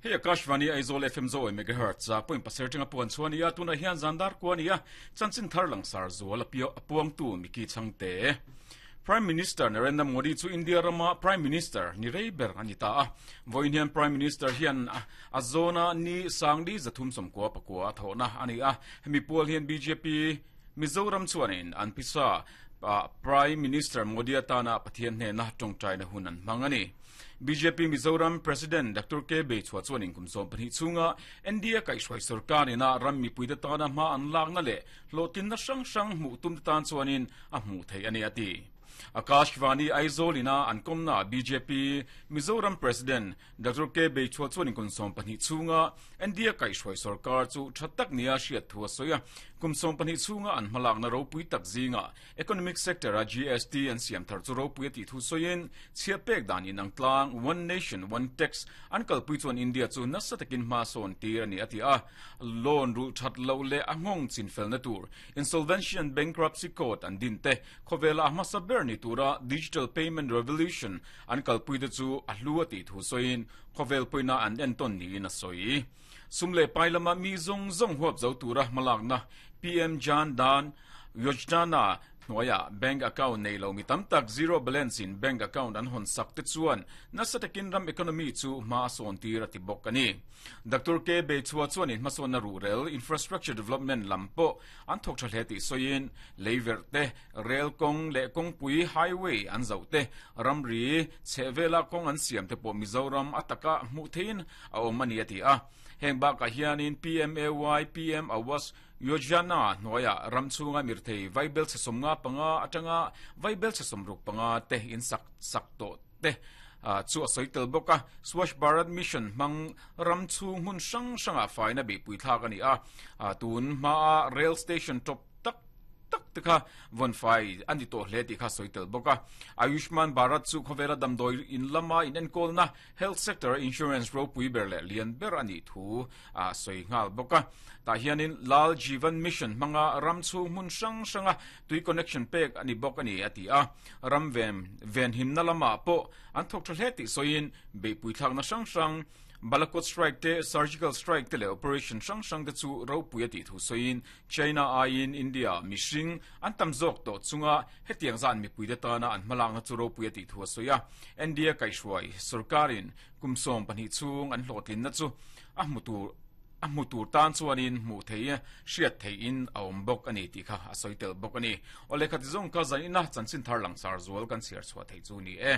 Hei Akashvani Aizawl FM Zoe Megahertz a point pasar tanga puan chuan ia tunah hian zandar kuan ia chanchin thar langsar zual a puangtu Miki Changte. Prime Minister Narendra Modi chu India rama Prime Minister ni rei ber ani ta a. Vawiin hian Prime Minister hian a zawna ni sangli 399 a thawhna ani a. Hemi pual hian BJP Mizoram chuanin an pisa Prime Minister Modi atana Pathian hnena tawngtaina hun an hmang a ni. BJP Mizoram President Doctor K Beichhua chuanin kum 12 chhunga NDA kaihhruai sorkar ina ram mipuite tana hma an lakna leh hlawhtlinna hrang hrang hmuh tumte tan chuanin a hmuh theih a ni a ti. Akashvani Aizawl ina an kawmna BJP Mizoram President Doctor K Beichhua chuanin kum 12 chhunga NDA kaihhruai sorkar chu tha tak nia hriat thu a sawi a. Kum 12 chhunga an hmalakna ropui tak zingah Economic sector a GST an siam thar chu ropui a tih thu sawiin chhiah pek dan inang tlang One Nation One Tax an kalpui chuan India chu nasa takin hma sawn tir a ni a ti a. Loan rulh that loh leh a nghawng chinfelna tur Insolvency and Bankruptcy Code an din te khawvela a hmasa ber ni tura Digital Payment Revolution an kalpui te chu a hlu a tih thu sawiin khawvel pawina an entawn niin a sawi. Sum leh pai lama mi zawng zawng huap zo tura hmalakna PM Jan Dhan Yojana hnuaiah bank account nei lo mi tam tak zero balance in bank account an hawn sak te chuan nasa takin ram economy chu hma a sawn tir a ti bawk a ni. Doctor K Beichhua chuanin hmasawnna ruhrel infrastructure development lam pawh an thawk tha hle tih sawiin leiverh te, rel kawng leh kawngpui highway an zauh te, ramri chhehvela kawng an siam te pawh Mizoram a taka hmuh theihin a awm a ni a ti a. Heng bakah hianin PMAY, PM Awas Yojana hnuaiah ram chhunga mirthei vaibel chhe 55 atanga vaibel chhe 65 te in sak sak tawh te chu a sawi tel bawk a. Swachh Bharat Mission hmang ram chhung hmun hrang hrangah faina beihpui thlak a ni a. Tun hmaa rail station tawp tak tak te kha vawn fai a ni tawh hle tih kha sawi tel bawk a. Ayushman Bharat chu khawvela damdawi in lama inenkawlna Health sector insurance ropui ber leh lian ber a nih thu a sawi nghal bawk a. Tah hianin Lal Jeevan Mission hmanga ram chhung hmun hrang hranga tui connection pek a ni bawk a ni a ti a. Ram ven venhimna lamah pawh an thawk tha hle tih sawiin beihpui thlakna hrang hrang Balakot strike te, surgical strike te leh operation hrang hrang te chu ropui a tih thu sawiin China aiin India mihring an tam zawk tawh chunga Hetiang zan mipuite tana an hmalakna chu ropui a tih thu a sawi a. NDA kaihhruai sorkarin kum 12 chhung an hlawhtlinna chu a hmu tur a hmu tur tan chuanin hmuh theih hriat theihin a awm bawk a ni tih kha a sawi tel bawk a ni. Aw lehkha ti zawng kha zanin a chanchin thar langsar zual kan chhiar chhuah theih chu ni e.